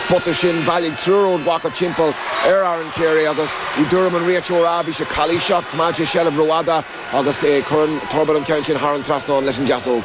spota sin, bhailigh triúr Ard Mhacha timpeall ar Aaron Carey agus i dtuairim an réiteora bhí sé calaoiseach, choimeád sé seilbh rófhada agus cuireann Turbitt an ceann sin thar an trasnán leis an deasóg.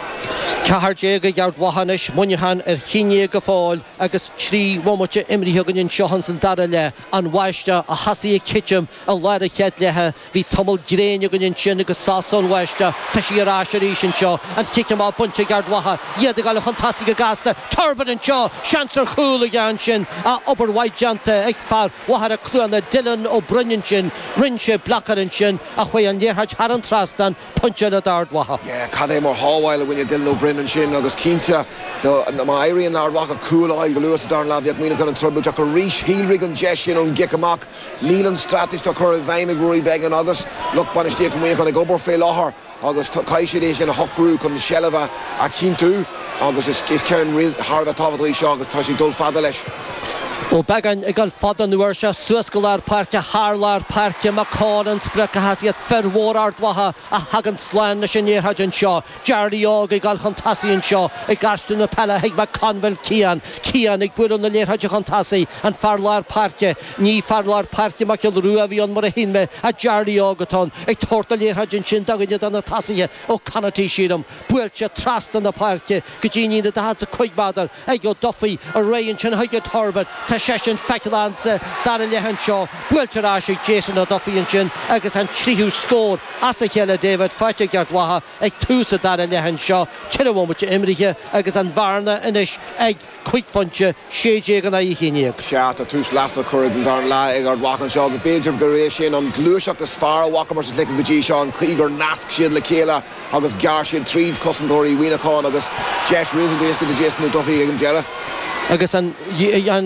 14 ag Ard Mhacha anois, Muineachán ar 11 go fóill agus 3 bhomaite imrithe againn anseo ins an dara leath. An bháisteach a thosaigh ag titim i lár an chéad leatha. Bhí tamall gréine againn ansin agus sos ón bháisteach. Tá sí ar ais arís anseo. An chic amach bainte ag Ard Mhacha. Iad ag dul chun tosaigh go gasta. Turbitt anseo! Seans ar chúl aige ansin. Ach obair mhaith déanta ag fear Mhachaire Cluana, Dylan Ó Broin ansin. Rinne sé blocáil ansin ach chuaigh an liathróid thar an trasnán. Pointe eile d'Ard Mhacha. Yeah, cad é mar shábháil a rinne Dylan Ó Broin ansin agus cinnte má éiríonn le Ard Mhacha cúl a fháil go luath sa darna leath bheadh Muineachán i dtrioblóid ach arís shíolraigh an deis sin ón gcic amach. Níl an straitéis atá curtha i bhfeidhm ag Rory Beggan agus lucht bainistíochta Mhuineacháin ag obair fé láthair agus caithfidh siad é sin a shocrú chun seilbh a chinntiú agus is ceann thar a bheith tábhachtach í seo agus tá sé ag dul fada leis. Ó Beagáin ag dul fada an uair seo suas go lár páirce, thar lár páirce, McCall an sprioc ach is iad fir mhóra Ard Mhacha a thagann slán leis an liathróid anseo. Jarly Óg ag dul chun tosaigh anseo, ag aistriú na peile chuig McConville Cian. Cian ag bualadh na liathróide chun tosaigh, an fear lár páirce, ní fear lár páirce Mac Giolla Rua a bhí ann mar a shíl mé, ach Jarly Óg atá ann, ag tabhairt na liathróide ansin do dhuine de na tosaithe, Ó Connarty sílim. Buailte trasna na páirce go dtí an líne 45 méadar ag Ó Dufaigh, ar aghaidh ansin chuige Turbitt. Tá seisean feiceálach insa dara leath anseo. Buailte ar ais ag Jason Ó Dufaigh ansin agus an tríú scór as a chéile David faighte ag Ard Mhacha ag tús an dara leath anseo. Ceithre bhomaite imrithe agus an bhearna anois ag cúig phointe, 16 in aghaidh 11. Sea, tá tús lasrach curtha den dara leath ag Ard Mhacha anseo agus b'fhéidir gurb é sin an ghluaiseacht is fearr a bhfacamar sa chluiche go dtí seo, an chaoi gur nasc siad le chéile agus ghearr siad tríd cosantóirí Mhuineacháin agus deis réasúnta éasca do Jason Ó Dufaigh ag an deireadh. Agus an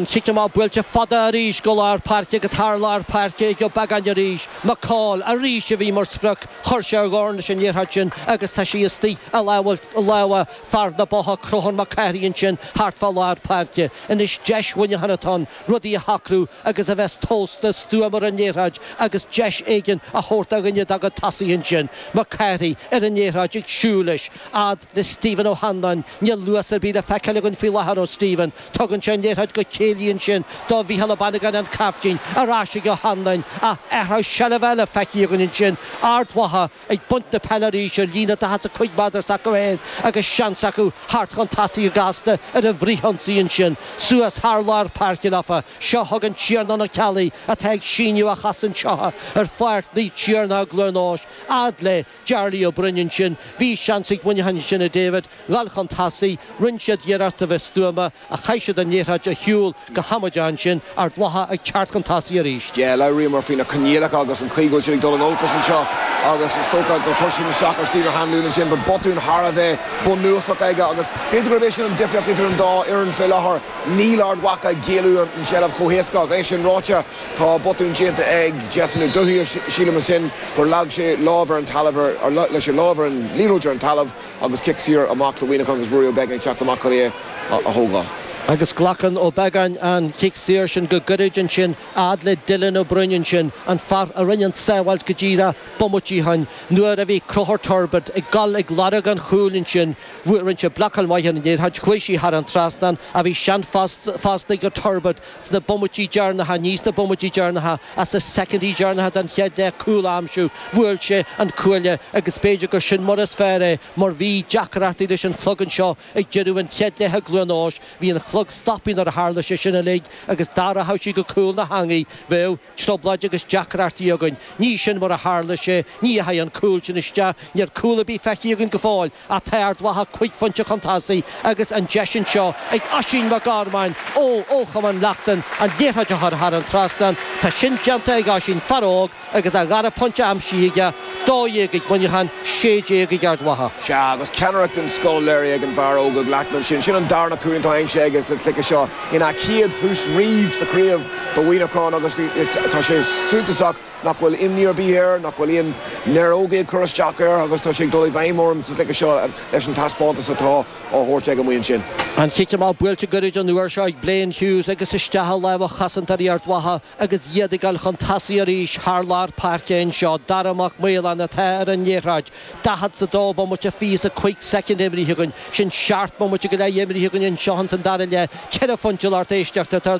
chic amach buailte fada arís go lár páirce agus thar lár páirce ag Ó Beagáin arís. McCall arís a bhí mar sprioc. Chuir sé a dhorn leis an liathróid sin agus tá sí istigh i lámha fear na Botha, Crothán Mac Cárthaigh ansin thart fá lár páirce. Anois deis Mhuineacháin atá ann rudaí a shocrú agus a bheith tomhaiste stuama ar an liathróid agus deis éigin a thabhairt do dhuine dá gcuid tosaithe ansin. Mac Cárthaigh ar an liathróid ag siúl leis fhad le Stephen Ó hAnluain. Níl luas ar bith le feiceáil againn faoi láthair ó Stephen. Tugann sé an liathróid go céillí ansin do Mhícheál Ó Bannagáin an caiftín. Ar ais ag Ó hAnluain ach athrú seilbhe eile feicthe againn ansin. Ard Mhacha ag baint na peile arís ar líne 45 méadar s'acu féin agus seans acu theacht chun tosaigh go gasta ar an bhfrithionsaí ansin. Suas thar lár páirce leofa. Seo chugainn Tiarnán Ó Ceallaigh atá ag síneadh a chos anseo ar Pháirc Naomh Tiarnach i gCluain Eois. Fhad le Jarly Ó Broin ansin. Bhí seans ag Muineachán ansin a David, dhul chun tosaigh. Rinne siad iarracht a bheith stuama ach chaith siad an liathróid a shiúl go hamaideach ansin. Ard Mhacha ag teacht chun tosaigh arís. Yeah, labhraíomar faoi na coinníollacha agus an chaoi go bhfuil siad ag dul in olcas anseo agus is dócha gur chuir sin isteach ar Stephen Ó hAnluain ansin. But botún thar a bheith bunúsach aige agus b'fhéidir gurb é sin an difríocht idir an dá fhoireann fé láthair. Níl Ard Mhacha ag géilleadh an tseilbh chomh héasca ach é sin ráite, Tá botún déanta ag Jason Ó Dufaigh, sílim ansin gur leag sé lámh ar an talamh ar, leag sé lámh ar an liathróid ar an talamh agus cic saor amach do Mhuineachán agus Ruairí Ó Beagáin ag teacht amach chun é a thógáil. Agus glacann Ó Beagáin an chic saor sin go gairid ansin, fhad le Dylan Ó Broin ansin, an fear a rinne an tsábháilt go díreach bomaite ó shin nuair a bhí Conchúr Turbitt ag dul ag lorg an chúil ansin. Rinne sé blocáil mhaith ar an liathróid, chuaigh sí thar an trasnán ach bhí seans fosta ag Turbitt Sna bomaití deireanacha, ní sna bomaití deireanacha, ach sna soicindí deireanacha den chéad leath, cúl a aimsiú. Bhuail sé an cuaille agus b'fhéidir gur sin mar is fearr é mar bhí deacrachtaí leis an chlog anseo ag deireadh an chéad leath i gCluain Eois. Bhí an clog stoptha nuair a tharla sé sin uilig agus dá rachadh sí go cúl na heangaí, bheadh. trioblóid agus deacrachtaí againn. Ní sin mar a tharla sé, ní dheachaigh an cúl sin isteach, níl cúl ar bith feicthe againn go fóill ach tá Ard Mhacha cuig phointe chun tosaigh agus an deis anseo ag Oisín Mac Gormáin ó ó Chumann Lachtain an liathróid a chur thar an trasnán. Tá sin déanta ag Oisín, fear óg agus a dhara pointe aimsithe aige, 12 ag Muineachán, 16 ag Ard Mhacha. Sea, agus ceannaireacht den scoth léirithe ag an bhfear óg ó Leachtna ansin. Sin an darna cúilín atá aimsithe aige sa chluiche seo ina chéad thús riamh sa chraobh do Mhuineachán agus tá sé suntasach nach bhfuil imní ar bith air, nach bhfuil aon néarógaí ag cur isteach air agus tá sé ag dul i bhfeidhm orm sa chluiche seo leis an taispeántas atá á thabhairt aige amuigh ansin. An chic amach buailte gairid an uair seo ag Blaine Hughes agus isteach i lámha chosantóirí Ard Mhacha agus iad ag dul chun tosaigh arís thar lár páirce anseo. Dara Mac Maoláin atá ar an liathróid. 42 bomaite 25 soicind imrithe againn. Sin seacht mbomaite go leith imrithe againn anseo ins an dara leath. Ceithre phointe lucht éisteachta atá ar.